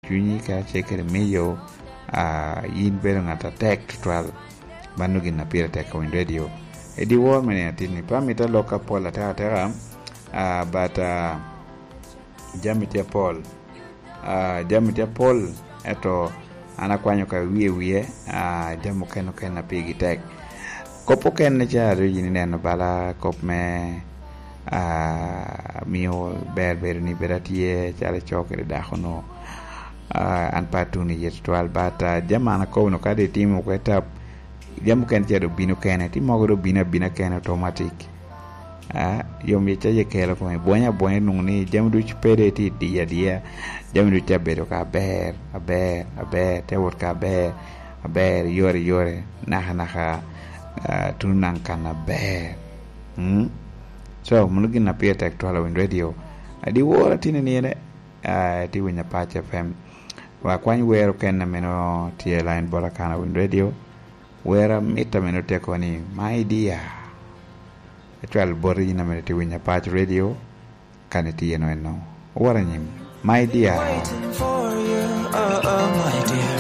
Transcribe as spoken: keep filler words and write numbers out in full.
cunyi kacel kede miyo, ah, yin bedo ngat atek tutwal. Mano gin a pire tek ka winy redio. I dyewor me nino atin-ni, pe amito alok apol atekateka, ah, but, ah, jami tye apol. Ah, jami tye apol, ento an akwanyo ka wie wie, ah, jami okene okene a pigi tek. Kop okene ca rik yin ineno bala kop me, ah, mio ber bedo ni bedo atye calo ico kede dako-nu. Ah, an pe atuno iye tutwal, but, ah, jami an akobo-nu ka doŋ itimo oko i tap, jami okene ca doŋ bino kene, ti mogo doŋ bino abina kene automatic. Ah, yom yec aye kelo kome, bwony abwonya nwoŋo ni jami ducu pe doŋ tye i diya adiya, jami ducu abedo ka aber, aber, aber, te wot ka aber, aber, yore, yore, naka, naka, ah, tuno naŋ kan aber. Mm? So, mano gin a pire tek twal a Winy Radio. Adi wora tini ni ene, ah, ti winyo Apac F M. Wa kwany wer okene a meno tye line bota kan a Winy Radio. Wer amit a meno tye kono ni, "My dear." Acwal boti yin a meno ti winyo Apac Radio, kan itye eno eno. Owor anyim. "My dear." Waiting for you, oh, oh, my dear.